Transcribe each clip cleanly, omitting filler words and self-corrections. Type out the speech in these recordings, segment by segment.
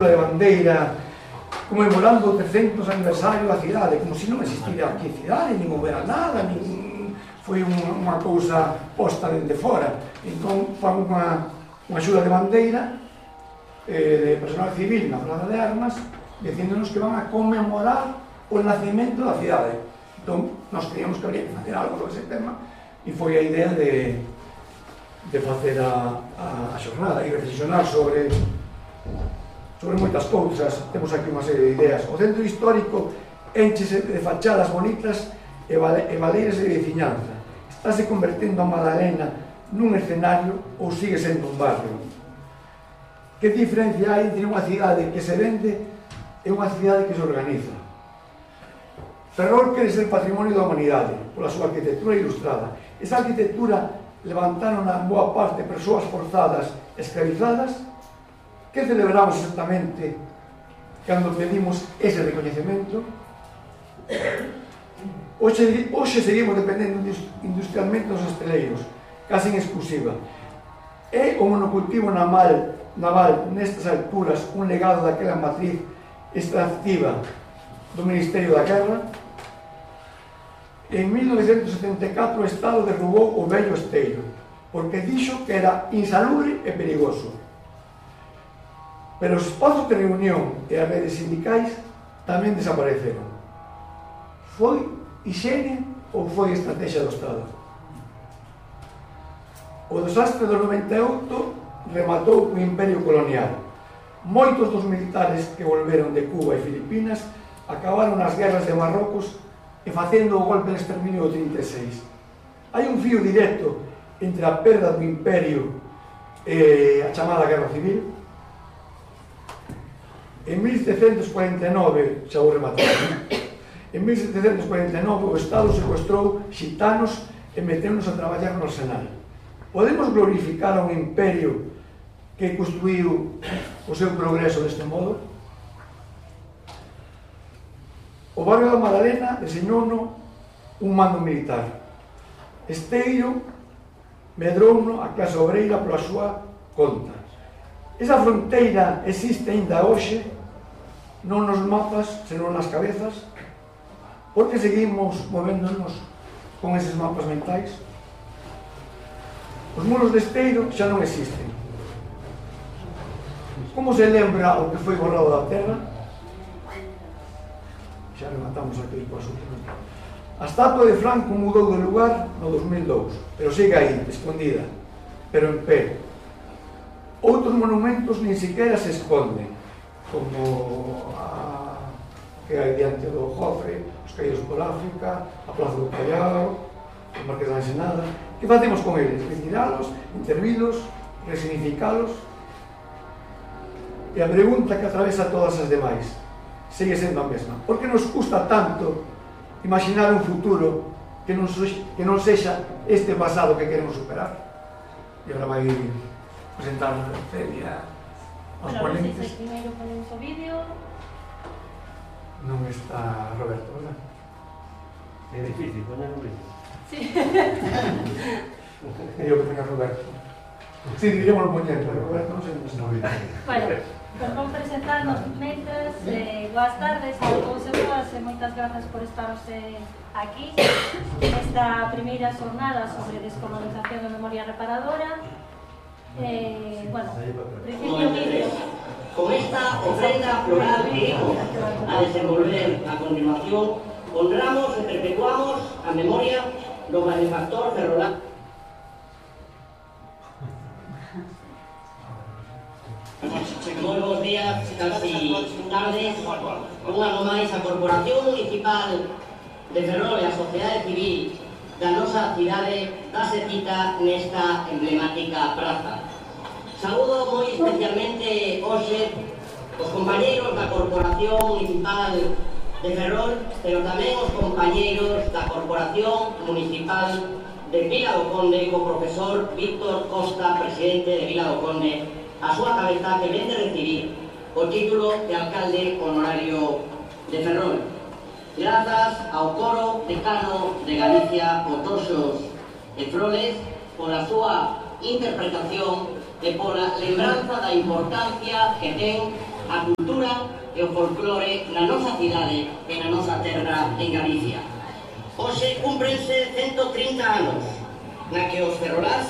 de bandeira conmemorando o 300 aniversario da cidade, como se non existira aquí cidade, nin houbera nada, nin foi unha cousa posta dende fora. Entón fan unha xura de bandeira de personal civil na Plaza de Armas, dicíndonos que van a conmemorar o nacimento da cidade. Entón, nós creíamos que habría que facer algo sobre ese tema, e foi a idea de facer a xornada e reflexionar sobre moitas cousas. Temos aquí unha serie de ideas. O centro histórico enchese de fachadas bonitas e valeiras de veciñanza. Estáse convertendo a Madalena nun escenario ou sigue sendo un barrio? Que diferencia hai entre unha cidade que se vende e unha cidade que se organiza? Ferrol quere ser patrimonio da humanidade pola súa arquitectura ilustrada. Esa arquitectura levantaron a boa parte persoas forzadas, escravizadas. Que celebramos exactamente cando pedimos ese recoñecemento? Hoxe seguimos dependendo industrialmente dos hosteleiros, casi en exclusiva. É o monocultivo naval nestas alturas un legado daquela matriz extractiva do Ministerio da Guerra? En 1974 o Estado derrubou o vello esteiro porque dixo que era insalubre e perigoso. Pero os espazos de reunión e as redes sindicais tamén desapareceron. Foi higiene ou foi estrategia do Estado? O desastre do 98 rematou o imperio colonial. Moitos dos militares que volveron de Cuba e Filipinas acabaron nas guerras de Marrocos e facendo o golpe de exterminio do 36. Hai un fío directo entre a perda do imperio e a chamada Guerra Civil. En 1749, xa vou rematar, en 1749 o Estado secuestrou xitanos e meteunos a traballar no arsenal. Podemos glorificar a un imperio que construiu o seu progreso deste modo? O barrio da Madalena deseñouno un mando militar. Esteiro medrouno a clase obreira pola súa conta. Esa fronteira existe ainda hoxe, non nos mapas, senón nas cabezas. Por que seguimos movéndonos con eses mapas mentais? Os muros de Esteiro xa non existen. Como se lembra o que foi borrado da terra? Xa rematamos aquí coas últimas. A estatua de Franco mudou de lugar no 2002, pero sigue aí, escondida, pero en pé. Outros monumentos nin siquiera se esconden, como a que hai diante do Jofre, os caídos por África, a Plaza do Callao, o Marqués da Ensenada. Que facemos con eles? Retiralos, intervilos, resignificalos? E a pregunta que atravesa todas as demais segue sendo a mesma. Por que nos custa tanto imaginar un futuro que non sexa este pasado que queremos superar? E agora vai presentar a Celia aos ponentes. Bueno, primeiro ponemos o vídeo. Non está Roberto, verdad? É difícil poñer o vídeo. Sí. Eu que poña Roberto. Sí, diríamos poñer, pero Roberto non sei onde está o vídeo. Bueno, pues vamos presentarnos mentres. Boas tardes a todos e todas e moitas grazas por estarse aquí nesta primeira xornada sobre descolonización e memoria reparadora. Bueno, principio vídeo. Con esta ofrenda floral que íbamos a desenvolver a continuación, honramos e perpetuamos a memoria do benefactor ferrolano. Moi bons días, casi tardes. Un ano máis a Corporación Municipal de Ferrol e a Sociedade Civil da nosa cidade dase cita nesta emblemática praza. Saúdo moi especialmente hoxe os compañeiros da Corporación Municipal de Ferrol, pero tamén os compañeiros da Corporación Municipal de Vila do Conde, co profesor Víctor Costa, presidente de Vila do Conde, a súa cabeza que vende recibir o título de alcalde honorario de Ferrol. Grazas ao coro decano de Galicia, Otoxos e Froles, pola súa interpretación e pola lembranza da importancia que ten a cultura e o folclore na nosa cidade e na nosa terra en Galicia. Hoxe cúmprense 130 anos na que os ferrolás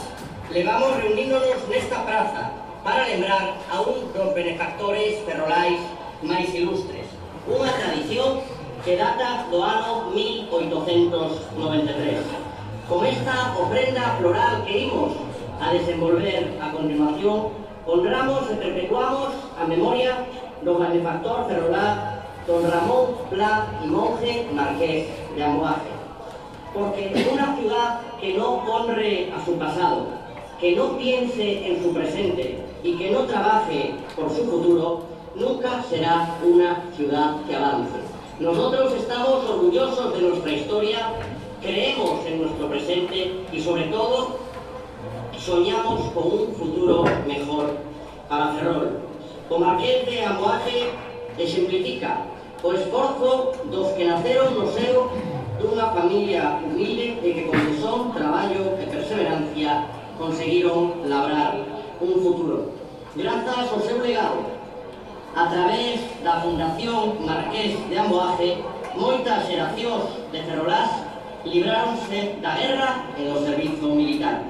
levamos reuníndonos nesta praza para lembrar a un dos benefactores ferrolais máis ilustres, unha tradición que data do ano 1893. Con esta ofrenda floral que imos a desenvolver a continuación, honramos e perpetuamos a memoria do benefactor ferrolá don Ramón Pla y Monje Marqués de Amoaje. Porque una ciudad que no honre a su pasado, que no piense en su presente y que no trabaje por su futuro, nunca será una ciudad que avance. Nosotros estamos orgullosos de nuestra historia, creemos en nuestro presente y sobre todo soñamos con un futuro mejor para Ferrol. O Marqués de Amoaje exemplifica o esforzo dos que naceron no seo dunha familia humilde e que con tesón, traballo e perseverancia conseguiron labrar un futuro. Grazas ao seu legado, a través da Fundación Marqués de Amoaje, moitas xeracións de ferrolás libráronse da guerra e do servizo militar.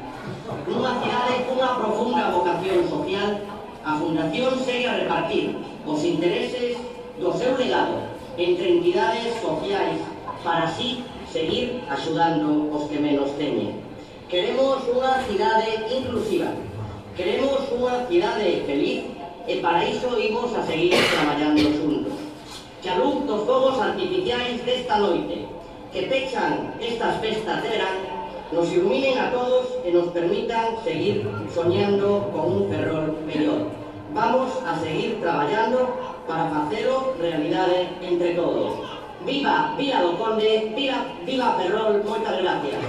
Nunha cidade cunha profunda vocación social, a Fundación segue a repartir os intereses do seu legado entre entidades sociais para así seguir axudando os que menos teñen. Queremos unha cidade inclusiva, queremos unha cidade feliz e para iso imos a seguir traballando xuntos. Que a luz dos fogos artificiais desta noite, que pechan estas festas de verán, nos iluminen a todos e nos permitan seguir soñando con un Ferrol mellor. Vamos a seguir traballando para facelo realidade entre todos. Viva Vila do Conde, viva Ferrol, moitas gracias.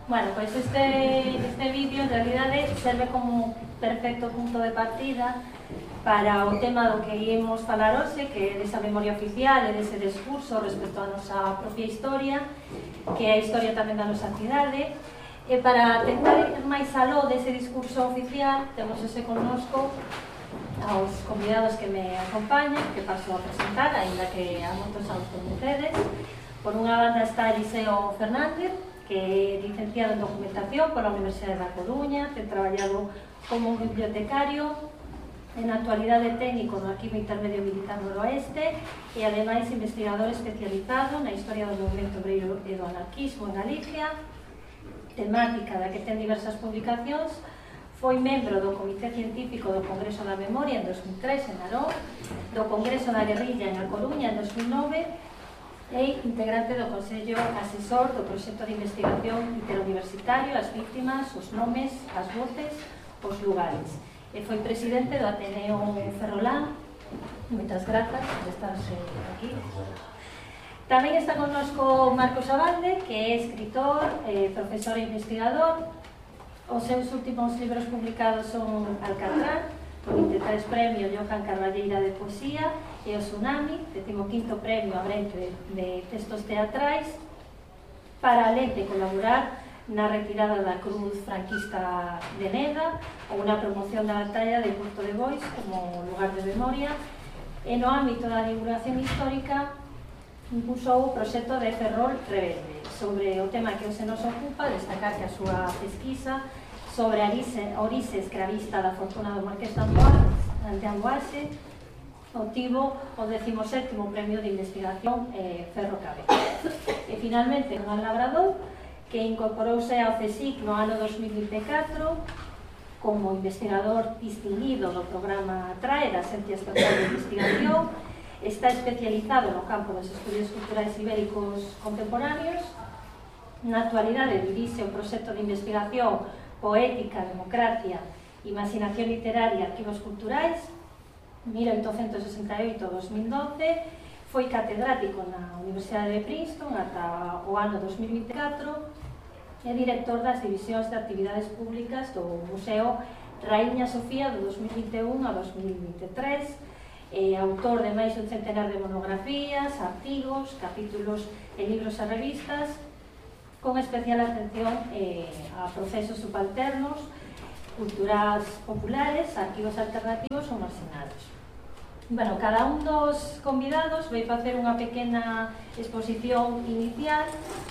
Bueno, pois este vídeo en realidade serve como perfecto punto de partida para o tema do que íamos falar hoxe, que é desa memoria oficial e dese discurso respecto á nosa propia historia, que é a historia tamén da nosa cidade. E para tentar ir máis aló dese discurso oficial, temos ese connosco aos convidados que me acompañan, que paso a presentar, ainda que a moitos aos conocedes. Por unha banda está Eliseo Fernández, que é licenciado en Documentación pola Universidade da Coruña, ten traballado como bibliotecario, en actualidade técnico no Arquivo Intermedio Militar Noroeste e ademais investigador especializado na historia do movimento obreiro e do anarquismo en Galicia, temática da que ten diversas publicacións. Foi membro do Comité Científico do Congreso da Memoria en 2003 en Narón, do Congreso da Guerrilla en A Coruña en 2009 e integrante do Consello Asesor do Proxecto de Investigación Interuniversitario As Víctimas, os Nomes, as Voces, os Lugares. E foi presidente do Ateneo Ferrolán. Moitas grazas por estarse aquí. Tamén está connosco Marcos Abalde, que é escritor, profesor e investigador. Os seus últimos libros publicados son Alcatrán, o 23 premio Johan Carballeira de Poesía, e o Tsunami, 15º premio Abrente de Textos Teatrais, para alén de colaborar na retirada da cruz franquista de Neda ou na promoción da batalla de Porto de Bois como lugar de memoria, e no ámbito da divulgación histórica impulsou o proxecto de Ferrol Rebelde. Sobre o tema que hoxe nos ocupa, destacar que a súa pesquisa sobre a orixe escravista da fortuna do Marqués de Amoaxe obtivo o 17º premio de investigación Ferro Cabeza. E finalmente, Juan Labrador, que incorporouse ao CSIC no ano 2024 como investigador distinguido do programa TRAE da Agencia Estatal de Investigación. Está especializado no campo dos estudios culturais ibéricos contemporáneos. Na actualidade dirixe o proxecto de investigación Poética, Democracia, Imaginación Literaria e Arquivos Culturais 1868-2012. Foi catedrático na Universidade de Princeton ata o ano 2024 e director das divisións de actividades públicas do Museo Raíña Sofía do 2021 a 2023, autor de máis dun centenar de monografías, artigos, capítulos en libros e revistas, con especial atención a procesos subalternos, culturas populares, arquivos alternativos ou marxinados. Bueno, cada un dos convidados vai facer unha pequena exposición inicial,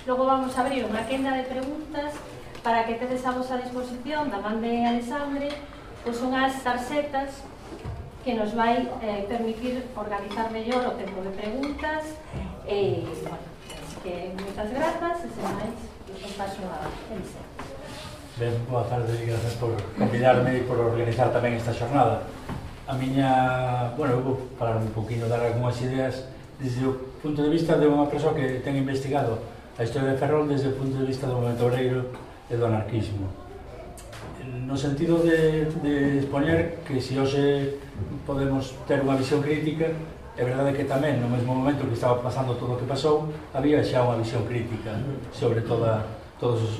logo vamos a abrir unha quenda de preguntas para que tedes a vosa disposición da man de Alexandre, pois unhas tarxetas que nos vai permitir organizar mellor o tempo de preguntas e, bueno, así que moitas grazas e sen máis, os paso a Elisa. Ben, boa tarde e grazas por convidarme e por organizar tamén esta xornada. A miña, bueno, eu vou falar un poquinho, dar algunhas ideas desde o punto de vista de unha persoa que ten investigado a historia de Ferrol desde o punto de vista do movimento obreiro e do anarquismo. No sentido de expoñer que se hoxe podemos ter unha visión crítica, é verdade que tamén no mesmo momento que estaba pasando todo o que pasou, había xa unha visión crítica sobre todos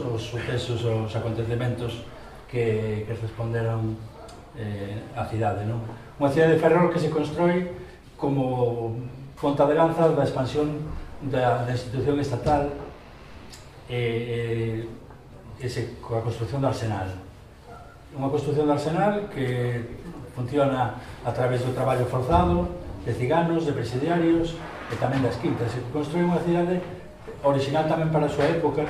os sucesos, os acontecementos que responderon a cidade, non? Unha cidade de Ferrol que se constrói como ponta de lanza da expansión da institución estatal coa construción do arsenal. Unha construción do arsenal que funciona a través do traballo forzado de ciganos, de presidiarios e tamén das quintas. Se construí unha cidade original tamén para a súa época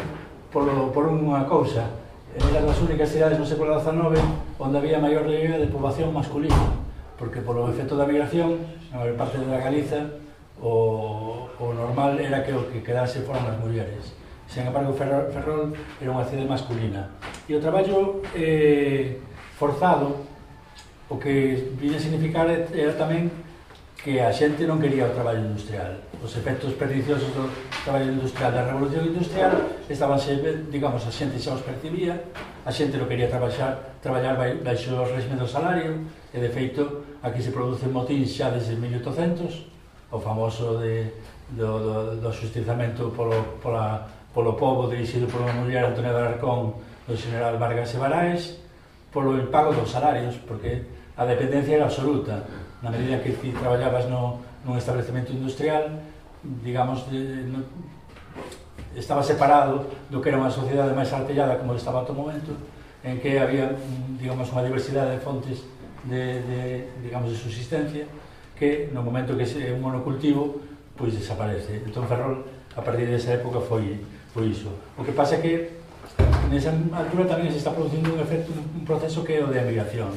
por unha cousa. Era das únicas cidades no século XIX onde había maior relieve de poboación masculina, porque polo efecto da migración, na maior parte da Galiza, o normal era que o que quedase foran as mulleres. Sen embargo, Ferrol era unha cidade masculina. E o traballo forzado, o que viña a significar era tamén que a xente non quería o traballo industrial. Os efectos perniciosos do traballo industrial, da revolución industrial, estabanse, digamos, a xente xa os percibía, a xente non quería traballar baixo o régimen do salario, e de feito, aquí se producen motíns xa desde 1800, o famoso do xustizamento polo pobo dirixido por unha muller, Antonia de Alarcón, do general Vargas e Baraes, polo impago dos salarios, porque a dependencia era absoluta. Na medida que ti traballabas nun establecemento industrial, digamos, estaba separado do que era unha sociedade máis artellada como estaba a todo momento, en que había, digamos, unha diversidade de fontes digamos, de subsistencia que no momento que é un monocultivo, pois desaparece. Entón Ferrol, a partir desa época, foi iso. O que pasa é que nesa altura tamén se está producindo un proceso que é o de emigración.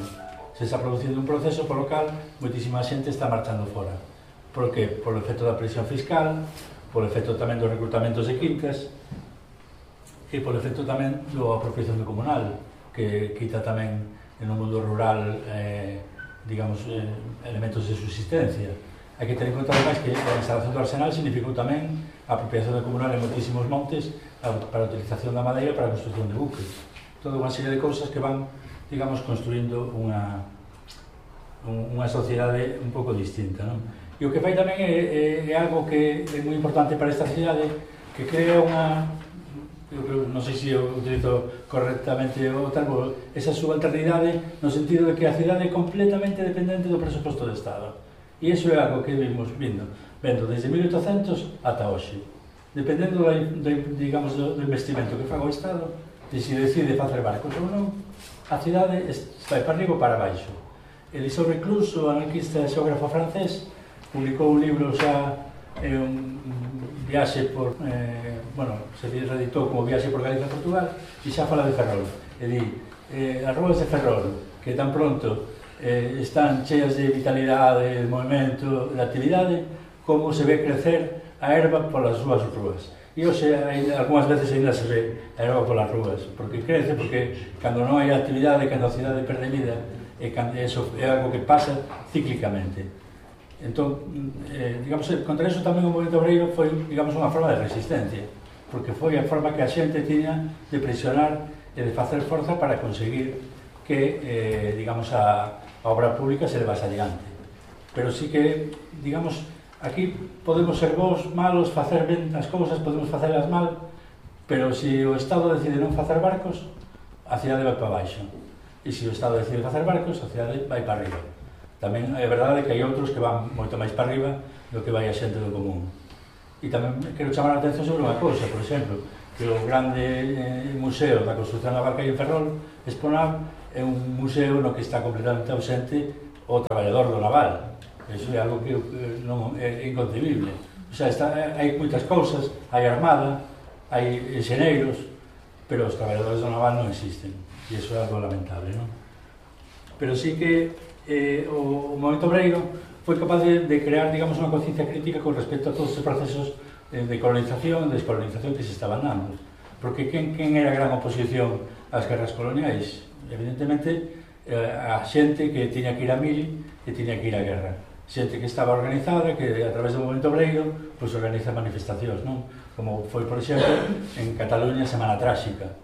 Se está producindo un proceso polo cal moitísima xente está marchando fora. Por que? Por o efecto da presión fiscal, por o efecto tamén dos reclutamentos de quintas e por o efecto tamén do apropiación do comunal, que quita tamén no mundo rural, digamos, elementos de subsistencia. Hai que ter en conta ademais que a instalación do arsenal significou tamén a apropiación do comunal en moitísimos montes para a utilización da madeira para a construcción de buques. Toda unha serie de cousas que van, digamos, construindo unha sociedade un pouco distinta, non? E o que fai tamén é algo que é moi importante para esta cidade, que crea unha, non sei se eu utilizo correctamente o termo, esa subalternidade no sentido de que a cidade é completamente dependente do presuposto do Estado. E iso é algo que vimos vendo desde 1800 ata hoxe. Dependendo digamos, do investimento que faga o Estado, de se decide facer barcos ou non, a cidade vai para arriba ou para baixo. Eliseo Reclus, o anarquista e xeógrafo francés, publicou un libro xa un viaxe por, se reeditou como Viaxe por Galicia e Portugal, e xa fala de Ferrol. E di, as ruas de Ferrol, que tan pronto están cheas de vitalidade, de movimento, de actividade, como se ve crecer a erva polas súas ruas. E hoxe, algunhas veces ainda se ve a erva polas ruas, porque crece, porque cando non hai actividade, cando a cidade perde vida, eso é algo que pasa cíclicamente. Entón, digamos, contra eso tamén o movimento obreiro foi, digamos, unha forma de resistencia, porque foi a forma que a xente tiña de presionar e de facer forza para conseguir que, digamos, a obra pública se levase adiante. Pero sí que, digamos, aquí podemos ser bons, malos, facer ben as cousas, podemos facelas mal, pero se o Estado decide non facer barcos, a cidade vai para baixo. E se o Estado decide facer barcos, a cidade vai para arriba. Tamén é verdade que hai outros que van moito máis para arriba do que vai a xente do común. E tamén quero chamar a atención sobre unha cousa, por exemplo, que o grande museo da construcción naval que hai en Ferrol, Exponar, é un museo no que está completamente ausente o traballador do naval. Iso é algo que non é inconcebible. O sea, hai moitas cousas, hai armada, hai enxeneiros, pero os traballadores do naval non existen. E iso é algo lamentable, non? Pero sí que o movimento obreiro foi capaz de crear, digamos, unha conciencia crítica con respecto a todos os procesos de colonización e descolonización que se estaban dando. Porque quen era a gran oposición ás guerras coloniais? Evidentemente, a xente que tiña que ir a mil e tiña que ir á guerra. Xente que estaba organizada, que a través do movimento obreiro pois organiza manifestacións, non? Como foi, por exemplo, en Cataluña Semana Tráxica,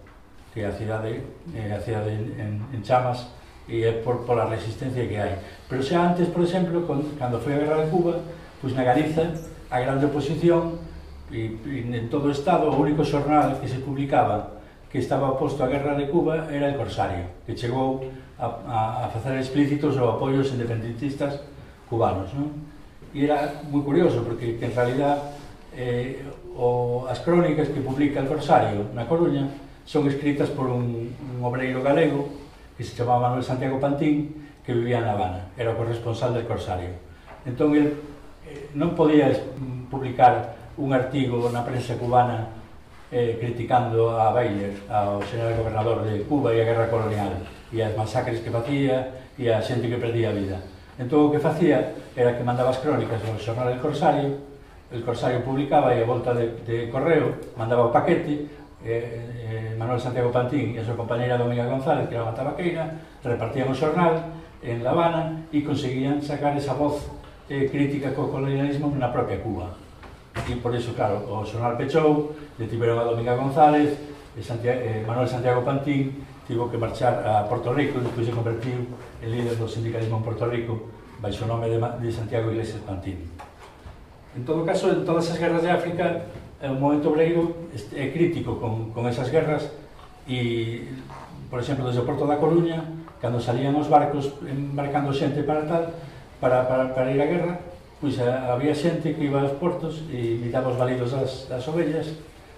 que é a cidade en chamas e é pola resistencia que hai. Pero xa antes, por exemplo, cando foi a Guerra de Cuba, pois na Galiza a grande oposición e en todo o Estado o único xornal que se publicaba que estaba oposto á Guerra de Cuba era el Corsario, que chegou a facer explícitos o apoio aos independentistas cubanos, non? E era moi curioso, porque en realidad as crónicas que publica el Corsario na Coruña son escritas por un obreiro galego que se chamaba Manuel Santiago Pantín, que vivía na Habana, era o corresponsal del Corsario. Entón, ele non podía publicar un artigo na prensa cubana criticando a Baylor, ao general gobernador de Cuba e a guerra colonial, e as masacres que facía e a xente que perdía a vida. Entón, o que facía era que mandaba as crónicas ao xornal del Corsario, el Corsario publicaba e a volta de correo mandaba o paquete, Manuel Santiago Pantín e a súa compañera Dominga González, que era unha tabaqueira, repartían o xornal en La Habana e conseguían sacar esa voz crítica co colonialismo na propia Cuba. E por iso, claro, o xornal pechou, detiveron a Dominga González, Manuel Santiago Pantín tivo que marchar a Porto Rico e despois se convertiu en líder do sindicalismo en Porto Rico baixo o nome de Santiago Iglesias Pantín. En todo caso, en todas as guerras de África, o movimento obreiro é crítico con esas guerras e, por exemplo, desde o Porto da Coruña, cando salían os barcos embarcando xente para ir á guerra, pois había xente que iba aos portos e imitaba os balidos das ovellas,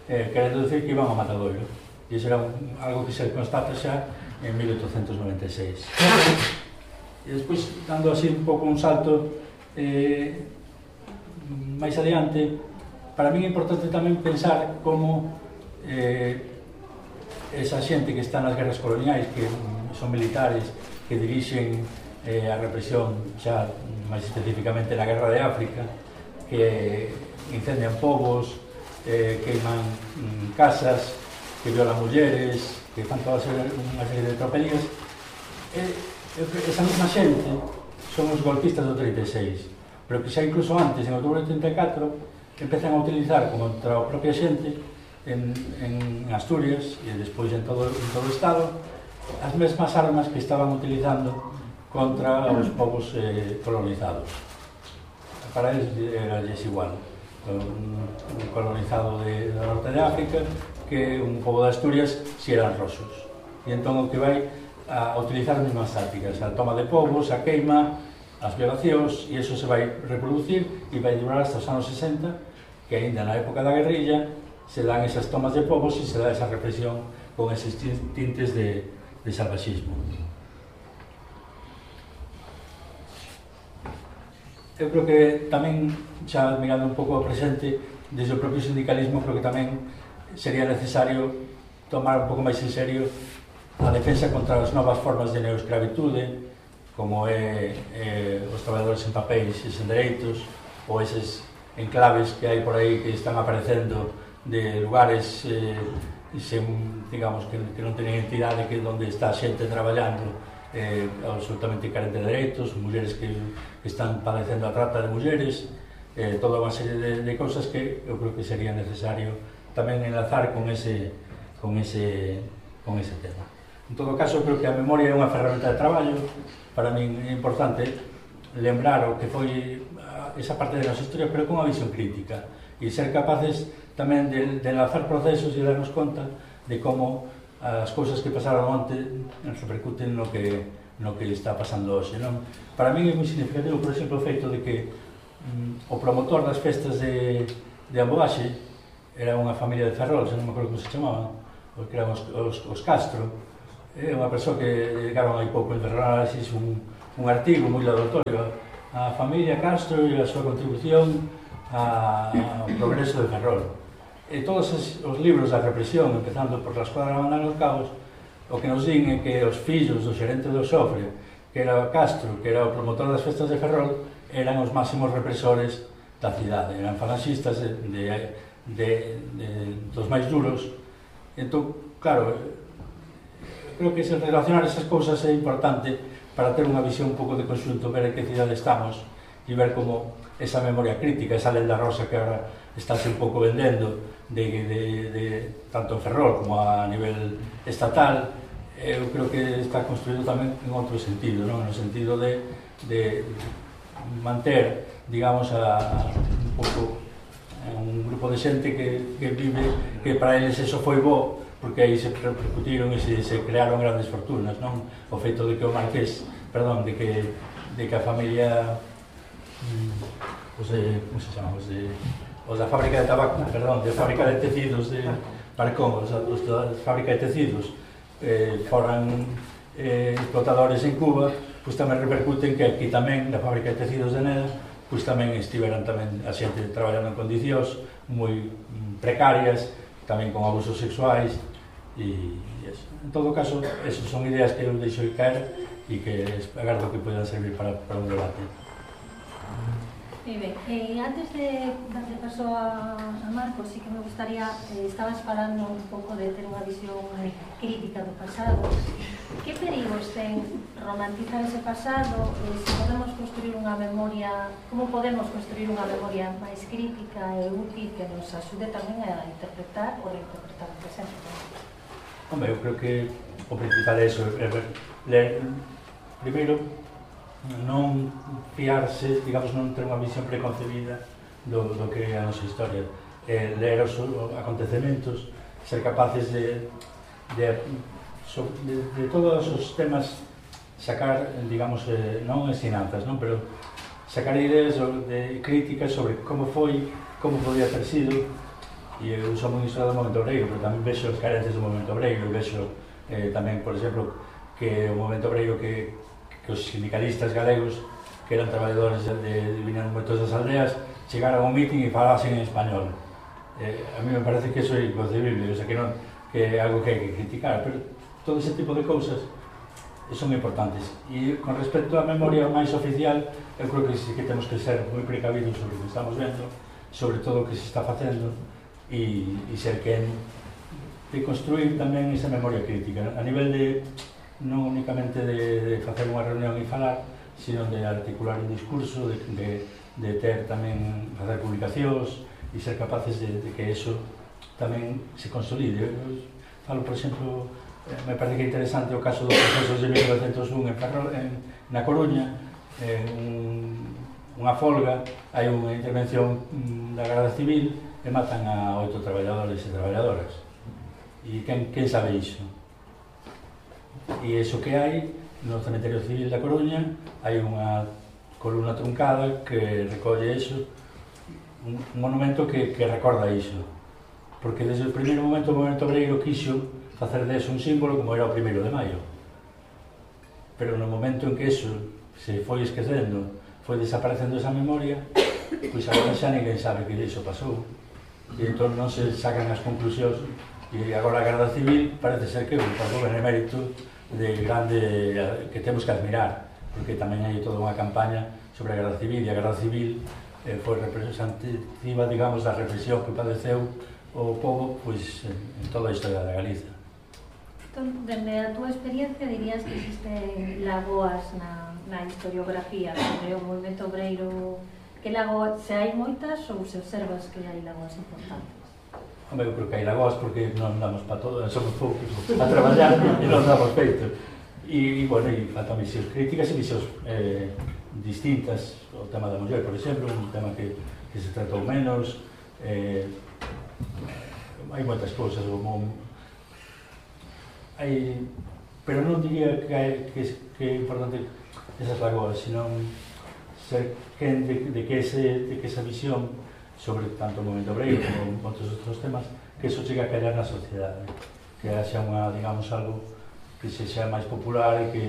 querendo decir que iban ao matadoiro. E iso era algo que se constata xa en 1896. E despois, dando así un pouco un salto máis adiante, para mí é importante tamén pensar como esa xente que está nas guerras coloniais, que son militares, que dirixen a represión xa máis especificamente na Guerra de África, que incendian povos, queiman casas, que violan mulleres, que fan toda unha serie de tropelías. Esa mesma xente son os golpistas do 36, pero que xa incluso antes, en outubro de 34, empezan a utilizar contra a propia xente en Asturias e despois en todo o Estado as mesmas armas que estaban utilizando contra os povos colonizados. Para eles era igual un colonizado do norte de África que un pobo de Asturias si eran rosos. E entón o que vai a utilizar as mesmas tácticas, a toma de povos, a queima, as violacións, e iso se vai reproducir e vai durar hasta os anos 60, que ainda na época da guerrilla se dan esas tomas de povos e se dá esa represión con eses tintes de salvaxismo. Eu creo que tamén, xa mirando un pouco ao presente, desde o propio sindicalismo, creo que tamén sería necesario tomar un pouco máis en serio a defensa contra as novas formas de neoescravitude, como é os traballadores en papéis e sen dereitos, ou eses enclaves que hai por aí que están aparecendo de lugares digamos, que non teñen entidade, que onde está xente traballando absolutamente carente de dereitos, mulleres que están padecendo a trata de mulleres, toda unha serie de cousas que eu creo que sería necesario tamén enlazar con ese tema. En todo caso, creo que a memoria é unha ferramenta de traballo. Para min é importante lembrar o que foi esa parte da nosa historia, pero con unha visión crítica, e ser capaces tamén de enlazar procesos e darnos conta de como as cousas que pasaron onte repercuten no que está pasando hoxe, non? Para min é moi significativo, por exemplo, o feito de que o promotor das festas de Amboaxe era unha familia de Ferrol, non me acordo como se chamaban, que eran os Castro, é unha persoa que dedicaron hai pouco en Ferrol un artigo moi laudatorio a familia Castro e a súa contribución ao progreso de Ferrol. E todos os libros da represión, empezando por la escuadra Bandán los Cabos, o que nos din é que os fillos do xerente do Xofre, que era Castro, que era o promotor das festas de Ferrol, eran os máximos represores da cidade, eran falanxistas dos máis duros. Entón, claro, creo que relacionar esas cousas é importante para ter unha visión un pouco de conxunto, ver en que cidade estamos e ver como esa memoria crítica, esa lenda rosa que agora estáse un pouco vendendo tanto en Ferrol como a nivel estatal, eu creo que está construído tamén en outro sentido, non? No sentido de manter, digamos, un pouco un grupo de xente que vive, que para eles eso foi bo, porque aí se repercutiron e se crearon grandes fortunas, non? O feito de que o Marqués, perdón, de que a familia como se chama, os da fábrica de tabaco, perdón, de fábrica de tecidos de Parcón, os da fábrica de tecidos foran explotadores en Cuba, pois tamén repercuten que aquí tamén, na fábrica de tecidos de Neda, pois tamén estiveran tamén a xente traballando en condicións moi precarias, tamén con abusos sexuais e eso. En todo caso, esas son ideas que eu deixo caer e que agardo que podan servir para un debate. Moi ben, antes de darle paso a Marcos, sí que me gustaría, estabas falando un pouco de ter unha visión crítica do pasado. Que perigos ten romantizar ese pasado? Se podemos construir unha memoria, como podemos construir unha memoria máis crítica e útil que nos axude tamén a interpretar ou reinterpretar o presente? Hombre, eu creo que o principal é eso, ler, primeiro, non fiarse, digamos, non ter unha visión preconcebida do que é a nosa historia, ler os acontecementos, ser capaces de todos os temas sacar, digamos, non ensinanzas, non? Pero sacar ideas de críticas sobre como foi, como podía ter sido. E eu sou moi historiador do momento obreiro, pero tamén vexo as carencias do momento obreiro, e vexo tamén, por exemplo, que o momento obreiro que os sindicalistas galegos, que eran traballadores viñan moitos das aldeas, chegaran a un mitin e falasen en español. A mí me parece que eso é inconcebible, o sea, que é algo que hai que criticar, pero todo ese tipo de cousas son importantes. E con respecto á memoria máis oficial, eu creo que sí que temos que ser moi precavidos sobre o que estamos vendo, sobre todo o que se está facendo, e ser quen de construir tamén esa memoria crítica, a nivel de non únicamente de facer unha reunión e falar, sino de articular un discurso, de ter tamén, facer publicacións e ser capaces de que eso tamén se consolide. Eu falo, por exemplo, me parece que é interesante o caso dos procesos de 1901 na Coruña, unha folga, hai unha intervención da Garda Civil e matan a 8 traballadores e traballadoras. E quen sabe iso? E iso que hai no Cementerio Civil da Coruña, hai unha columna truncada que recolle iso, un monumento que recorda iso, porque desde o primeiro momento o movemento obreiro quixo facer deso un símbolo como era o 1º de maio, pero no momento en que iso se foi esquecendo, foi desaparecendo esa memoria, pois agora xa ninguén sabe que iso pasou, e entón non se sacan as conclusións, e agora a Garda Civil parece ser que é un benemérito de grande que temos que admirar, porque tamén hai toda unha campaña sobre a Garda Civil, e a Garda Civil foi representativa, digamos, da represión que padeceu o povo pois, en toda a historia da Galiza. Entón, dende a túa experiencia, dirías que existen lagoas na historiografía sobre o movimento obreiro, que lagoas, se hai moitas ou se observas que hai lagoas importantes? Hombre, eu creo que hai lagoas porque non damos para todo, somos poucos a traballar e non damos feito. E, bueno, e faltan visións críticas e visións distintas. O tema da muller, por exemplo, un tema que se tratou menos. Hai moitas cousas, pero non diría que é importante esas lagoas, senón ser quen de que esa visión sobre tanto o movimento obreiro como outros temas, que eso chega a callar na sociedade, que haxa unha, digamos, algo sexa máis popular e que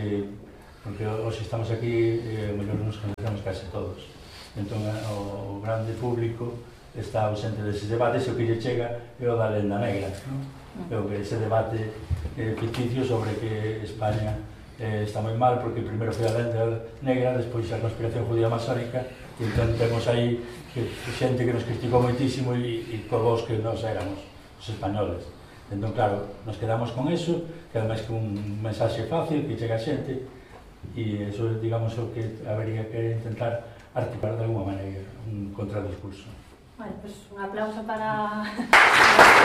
porque hoxe estamos aquí e mellor nos conocemos case todos. Entón o grande público está ausente deses debates e o que lle chega é o da lenda negra, é o que ese debate ficticio sobre que España está moi mal porque primeiro foi a lenda negra, despois a conspiración judía masónica e entón temos aí xente que nos criticou moitísimo e co vos que nos éramos os españoles. Entón, claro, nos quedamos con eso, que ademais que un mensaxe fácil que chega a xente e eso, digamos, o que habería que intentar articular de alguma maneira un contradiscurso. Bueno, pues un aplauso para